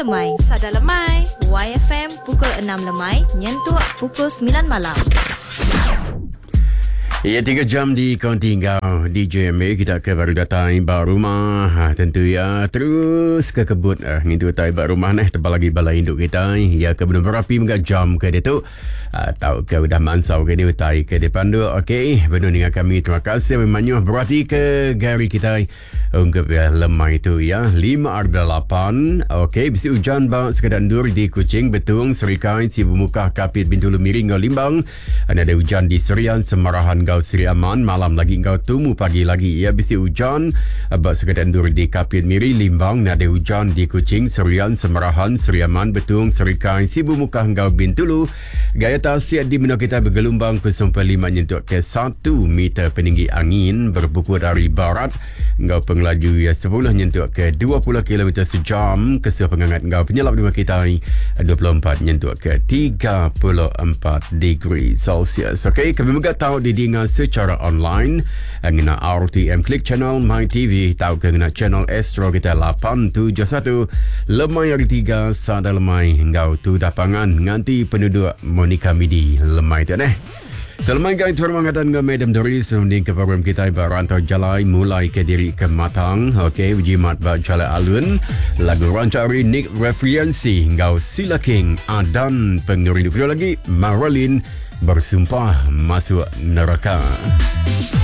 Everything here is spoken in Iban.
lemai. Sada lemai. YFM pukul 6 lemai nyentuk pukul 9 malam. Ya, 3 jam di Kaunti enggau DJ MA kita ke baru datai ba rumah. Ha, tentu ya terus ke kebut uh, ngintu utai ba rumah neh tebal lagi bala indu kita ya ke benung berapi mega jam ke ditu. Uh, tau ke udah mansau ke ni utai ke dipanduk. Okey, benung ninga kami terima kasih mayuh berati ke gari kita. Ungkup ya lemai tu ya 5.8 Okey bisi ujan ba sekeda endur di Kuching, Betong, Serikai, Sibu Mukah, Kapit, Bintulu, Miri enggau Limbang. Nadai ujan di Serian, Semarahan enggau Sri Aman malam lagi enggau tumu pagi lagi ya bisi ujan ba sekeda endur di Kapit, Miri, Limbang. Nadai ujan di Kuching, Serian, Semarahan, Sri Aman, Betong, Serikai, Sibu Mukah enggau Bintulu. Gaya tasik di menua kita begelumbang 0.5 nyentuk ke 1 meter peninggi angin berpuput ari barat enggau pengelaju iya 10 nyentuk ke 20 km sejam kesuah pengangat enggau penyelap di menua kita 24 nyentuk ke 34 degree Celsius. Okey, kami mega tau didinga secara online ngena RTM Click Channel My TV tauka ngena channel Astro kita 871 lemai hari 3 sada lemai enggau tudah pangan nganti penuduk Monica Midi lemai tu neh. Selemai gang tuan rumah ngadan enggau Madam Doris runding ke program kita ba rantau jalai mulai ke diri ke matang. Okey, bejimat ba jalai alun. Lagu rancak ari Nick Referensi enggau Sila King Adan Pengerindu. Kedua lagi Marilyn Bersumpah Masuk Neraka.